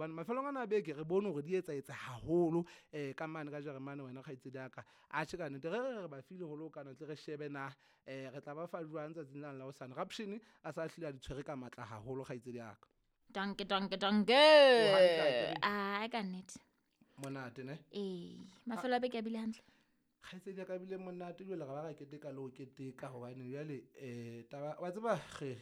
Hobane mafelong ana a beke re bone hore di etsaetse haholo ka mane ka Jeremane wena kgaitsedi ya ka. Atjhe ka nnete re re re ba file ho le hokana tle re shebe na re tla ba fa jwang tsatsing lane la hosane. Rapshini a sa hlile a di tshwere ka matla haholo kgaitsedi ya ka. Danke, danke, danke. O hantle akere? Ah, ka nnete. Monate ne? Ee, mafelo a beke a bile hantle. Kgaitsedi ya ka bile monate jwale ra ba ra keteka le ho keteka hobane jwale taba wa tseba re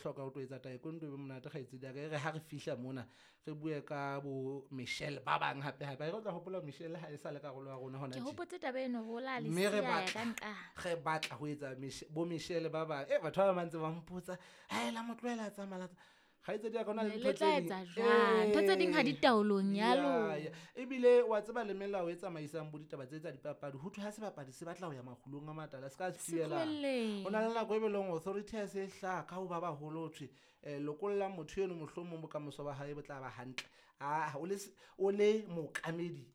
hloka ho tlo etsa taekwondo e be monate kgaitsedi ya ka. E re ha re fihla mona re bue ka bo Michelle ba bang hape hape. Akere o tla hopola Michelle ha e sa le karolo ya rona hona Ke tje. hopotse taba eno hore o la le Mme re siya ya batla ka nqa. re batla ho etsa bo Michelle ba bang. Batho ba bang ba ntse ba mpotsa, "Hae, la mo tlohela a tsamaya, la tsa-" Kgaitsedi ya ka, ho na le Le ntho tla tse ding. etsa jwang? Ntho tse ding ha di taolong ya lona. Ebile wa tseba le melao e tsamaisang bo ditaba tse tsa dipapadi, ho thwe ha sebapadi se batla ho ya makgulong a matala, se ka se Se thibela. tlohelleng. Ho na le nako e be leng authority ha se hlaha ka ho ba baholo, ho thwe, lokolla motho eno, mohlomong bokamoso ba hae bo tla ba hantle. Ah, o le o le mookamedi,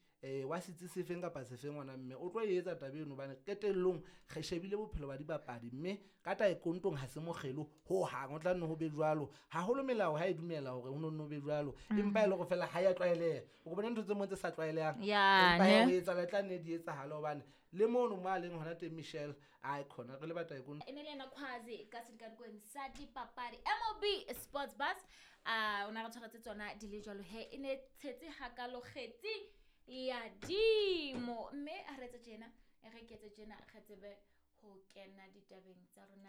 wa setsi sefeng kapa sefeng ngwana mme, o tlo e etsa taba eno hobane qetellong re shebile bophelo ba dibapadi, mme ka taekwondong ha se mokgelo ho hang, ho tla nne ho be jwalo. Haholo melao ha e dumela hore ho no nne ho be jwalo, empa e le hore feela ha ya tlwaeleha. O bona ntho tse mong tse sa tlwaelehang, Ya, empa ne. ho etsahala, e tla nne di etsahale hobane le mono mo a leng hona teng Michelle, ai khona re le ba taekwondo. E ne le yena Khwazi ka sedikadikong sa dipapadi MOB Sports Bus. Ah, o na re tshwaretse tsona di le jwalo he, e ne tshetse hakalo kgetsi ya dimo. Mme ha re etse tjena, re ketse tjena, re tsebe ho kena ditabeng tsa rona.